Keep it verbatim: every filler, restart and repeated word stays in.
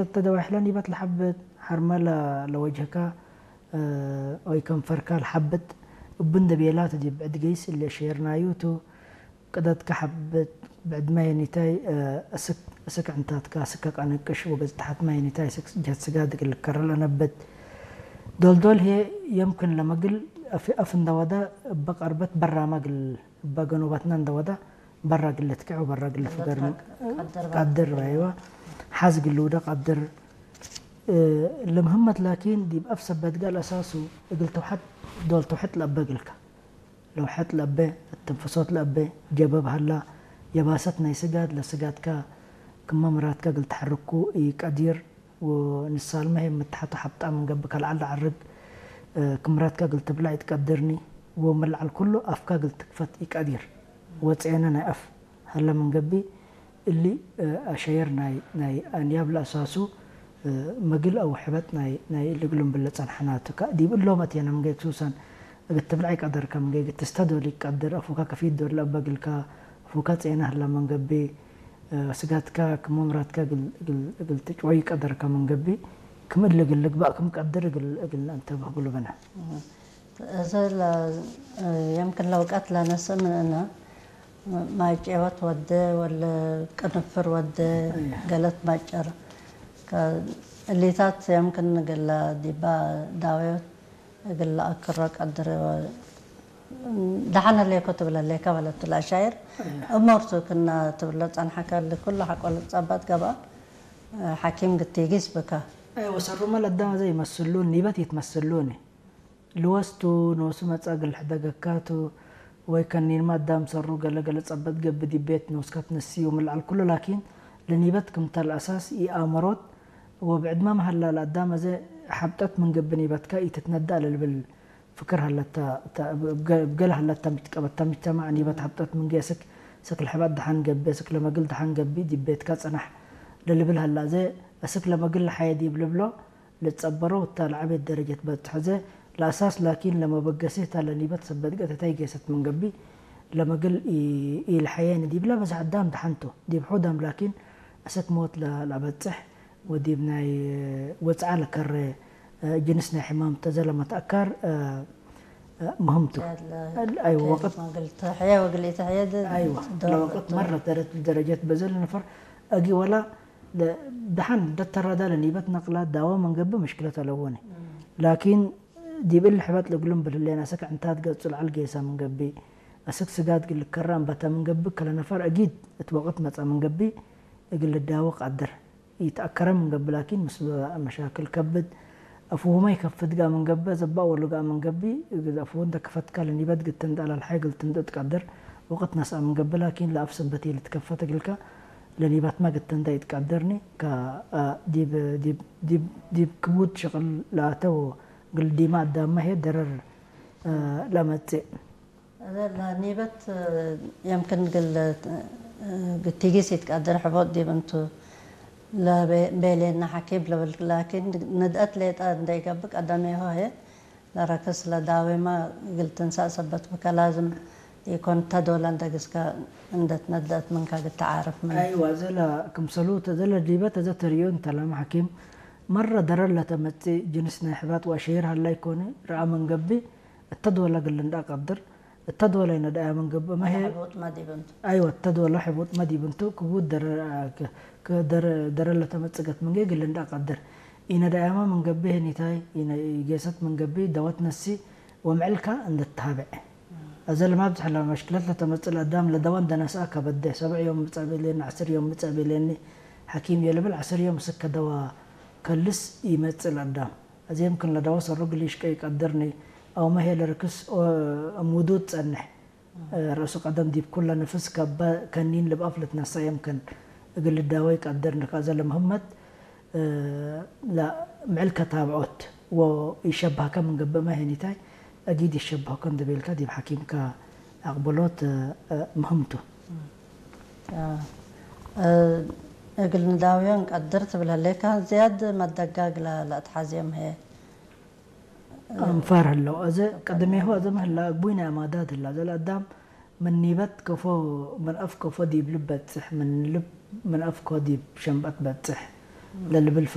እተ ደዋሕለ ኒበት ለሐብት፣ ሐርመ ለ-፣ ለወጅህከ፣ እ፣ ወይ ከንፈርከ ለሐብት፣ እቡ እንዴ ቤላ ቱ ዲብ ብዕድ ገይስ እሊ አሸየርናዩ ቱ። ቅደትከ ሐብት፣ ብዕድ ማይ ኒታይ፣ እ፣ እስክ፣ እስክ ዕንታትከ፣ እስከ ቀንቅሽ ወገጽ ተሐት ማይ ኒታይ፣ እስክ ጀህት ስጋድ እግል ልከረ ለነብት። ዶልዶል ህዬ የምክን ለመግል አፍ፣ አፍ እንዴ ወደ እበ ቀርበት በራመ እግል እበ ገኖበትነ እንዴ ወደ በረ እግል ልትክዕ ወበረ እግል ልፍገር ቀድር በ። ቀድር፣ አይወ። ሐዝ እግል ልውደ ቀድር። እ፣ ለምህመት ላኪን ዲብ አፍ ሰበት ጋል አሳሱ እግል ተውሐጥ፣ ዶል ተውሐጥ ለአበ እግልከ። ለውሐጥ ለአበ፣ እትንፍሶት ለአበ፣ ጀበብ ሀላ፣ የባሰት ናይ ስጋድ ለስጋድከ ክመ ምራድከ እግል ተሐርኩ ኢቀዲር። ወንሳልመ ህዬ ምትሐቱ ሐብጣ ምን ገብእ ከለዐል ለዐርግ፣ እ፣ ክምራትከ እግል ትብለዕ ኢትቀድርኒ፣ ወምን ለዐል ኩሉ አፍከ እግል ትክፈት ኢቀዲር፣ ወጼነ ናይ አፍ ሀለ ምን ገብእ፣ እሊ፣ እ፣ አሸየር ናይ፣ ናይ አንያብ ለአሳሱ፣ እ፣ መግል አው ሕበጥ ናይ፣ ናይ እሊ እግሉም ብለ ጸንሐናቱ። ከ-፣ ዲብ እሎም አቴነ ምን ገይክ ሱሰን እግል ትብለዕ ኢቀደርከ፣ ምን ገይክ ትስተዶል ኢቀድር፣ አፉከ ከፊት ዶል ለአበ እግልከ፣ አፉከ ጼነ ሀለ ምን ገብእ፣ ስጋትከ ክም ምራትከ እግል፣ እግል፣ እግል ትጭወይ ቀደርከ ምን ገብእ፣ ክም እሊ እግል ልግበእ ክም ቀድር እግል፣ እግል ነአንተብህ እግሉ ብነ። እህ። እዚ ለ-፣ የምክን ለውቀት ለነስእ ምን እነ፣ ማይ ጬወት ወደ ወለ ቅንፍር ወደ እህ። ገለት ማጨር። ከ-፣ እሊታት የምክን እግል ዲባ ዳዌት እግል ለአክሮ ቀድር። ደሐን ህሌኮ ትብል ህሌከ በለቱ ለአሻይር። እሞርቱ ክና ትብሎ ጸንሐከ እሊ ኩሉ ሐቆ ልትጸበጥ ገብአ፣ ሐኪም ግቲጊስ ብከ። አይ ወሰሩመ ለአዳም አዜ ይመስሉኒ፣ ኒበት ይትመስሉኒ። ልወስቱ ኖሱ መጽአ እግል ሕደገካቱ ወይ ከኒንመ አዳም ሰሩ ገለ ገለ ጸበጥ ገብእ ዲብ ቤት ኖስከ ትነስዩ ምን ለዐል ኩሉ ላኪን ለኒበት ክምተ ለአሳስ ኢአመሮት ወብዕድመ መሀላ ለአዳም አዜ ሐብጠት ምን ገብእ ኒበትከ ኢትትነደእ ለልብል ፍክር ሀለተ፣ ተ-፣ እብ ገ-፣ እብ ገሌ ሀለተ ምጅ-፣ ቀበተ ምጅተማዕ ኒበት ሐብጠት ምን ጌስክ፣ ስክ ለሕበጥ ደሐን ገብእ፣ ስክ ለመግል ደሐን ገብእ፣ ዲብ ቤትከ ጽናሕ ለልብል ሀላ፣ አዜ እስክ ለመግል ለሐየ ዲብ ልብሎ ልትጸበሮ፣ ወታ ለዐቤት ደረጀት በጽሖ፣ አዜ ለአሳስ ላኪን ለመበገሲት ሀለ ኒበት ሰበት ገተታይ ጌሰት ምን ገብእ፣ ለመግል ኢ-፣ ኢልሐየኒ ዲብለ በዝሕ አዳም ደሐን ቱ፣ ዲብ ሑዳም ላኪን እስክ ሞት ለ-፣ ለአበጽሕ፣ ወዲብ ናይ ወጽዓ ለከረ፣ እ፣ ጅንስ ናይ ሕማም ተዘ ለመትአካር፣ እ፣ እ፣ ምህም ቱ። ያለ አይወ፣ ከ-፣ ወቅት መግል ተሕየ ወግል ኢተሕየ ድ-፣ አይወ፣ ዶር ለወቅት ቱ። መረት ደረት ደረጀት በዘል ነፈር አጊ ወላ ለ-፣ ደሐን ደተራዳ ለኒበት ነቅላ ዳዋ መንገብእ ምሽክለት አለወኒ። እም። ላኪን ዲብ እሊ ሕበጥ ለእግሉም ብልሌን አስክ ዕንታት ገጹ ለዐል ጌሰ ምን ገብእ፣ አስክ ስጋድ እግል ልከረ አንበተ ምን ገብእ፣ ከለ ነፈር አጊድ እት ወቅት መጽአ ምን ገብእ እግል ልዳወ ቃድር። ኢተአከረ ምን ገብእ ላኪን ምስሉ መሻክል ከብድ፣ አፉሁመ ኢከፍት ገአ ምን ገብእ፣ ዘባእ ወሉ ገአ ምን ገብእ፣ እግል አፉሁ እንተ ከፈትከ ለኒበት ግትን ደአለ ለሐይ እግል ትምጥእ ትቀድር። ወቅት ነስአ ምን ገብእ ላኪን ለአፍ ሰበት ኢልትከፈት እግልከ ለኒበትመ ግትን እንተ ኢትቀድርኒ፣ ከ-፣ አ፣ ዲብ፣ ዲብ፣ ዲብ፣ ዲብ ክቡድ ሽቅል ለአተው እግል ዲመ አዳምመ ህዬ ደረር፣ አ፣ ለመጽእ። ለኒበት የምክን እግል ግቲጊስ ኢትቀድር ሕቦጥ ዲብ እንቱ ለቤ-፣ ቤሌነ ሐኪም ልብል፣ ላኪን ንድአት ሌጠ እንደ ኢገብእ ቀደሜሁ ህዬ ለረክስ ለዳዌመ እግል ትንሳእ ሰበት ብከ ላዝም ኢኮን፣ ተዶለ እንደ ግስከ እንደ ትነድአት ምንከ እግል ተዓርፍ ምን። አይወ፣ እዘ ለክምሰሉ ተ-፣ እዘ ለዲበት እዘ ተርእዮ እንተ ለመ ሐኪም መረ ደረር ለተመጽእ ጅንስ ናይ ሕባጥ ወአሸይር ሀላይ ኮነ ረአ ምን ገብእ፣ እተ ዶለ እግል ልንድአ ቀድር። እተ ዶለ ኢነድአያ ምን ገብእ መ ህዬ፣ ሕቡጥ መ ዲብ እንቱ። አይወ፣ እተ ዶለ ሕቡጥ መ ዲብ እንቱ፣ ክቡድ ደረ-፣ ከ-፣ ከ-፣ ደረ-፣ ደረር ለተመጽእ ገት ምንጌ እግል ልንድአ ቀድር። ኢነድአያመ ምን ገብእ ህኒታይ፣ ኢነ-፣ ኢጌሰት ምን ገብእ ደወት ነሲ ወምዕልከ እንደ ተሃብዕ። አዘ ለማብዝሕ ለመሽክለት ለተመጽእ ለአዳም ለደወ እንደ ነስአ ከበደ፣ ሰብዕ ዮም ምጸእ ቤሌኒ፣ ዐስር ዮም ምጸእ ቤሌኒ ሐኪም የልብል፣ ዐስር ዮም እስከ ደወ ከልስ ኢመጽእ ለአዳም። አዜ የምክን ለደወ ሰሩ እግል ኢሽቀ ኢቀድርኒ፣ አውመ ህዬ ለርክስ ኦ-፣ እሙዱ ትጸንሕ። እ፣ ረእሱ ቀደም ዲብ ኩለ ንፍስ ከበ ከኒን ልብአፍ ልትነሰእ የምክን እግል ልዳወ ኢቀድርኒ። ከአዘ ለምህመት፣ እ፣ ለምዕል ከታብዖት ወኢሸበህከ ምን ገብእ መ ህኒታይ፣ አጊድ ኢሸበህከ እንዴ ቤልከ ዲብ ሐኪምከ አቅብሎት፣ እ፣ ምህም ቱ። አ፣ እ፣ እግል ንዳውዮ እንቀድር ትብል ህሌከ፣ ዝያድ መደጋግ ለ-፣ ለአትሐዜም ህዬ። አንፋር ህለው። አዜ ቀደሜሁ አዜ ምህላ እግቡይ ናይ አማዳት ህላ። አዜ ለአዳም ምን ኒበት ከፎ፣ ምን አፍ ከፎ ዲብ ልብ በጽሕ፣ ምን ልብ፣ ምን አፍ ከፎ ዲብ ሸንበት በጽሕ ለልብል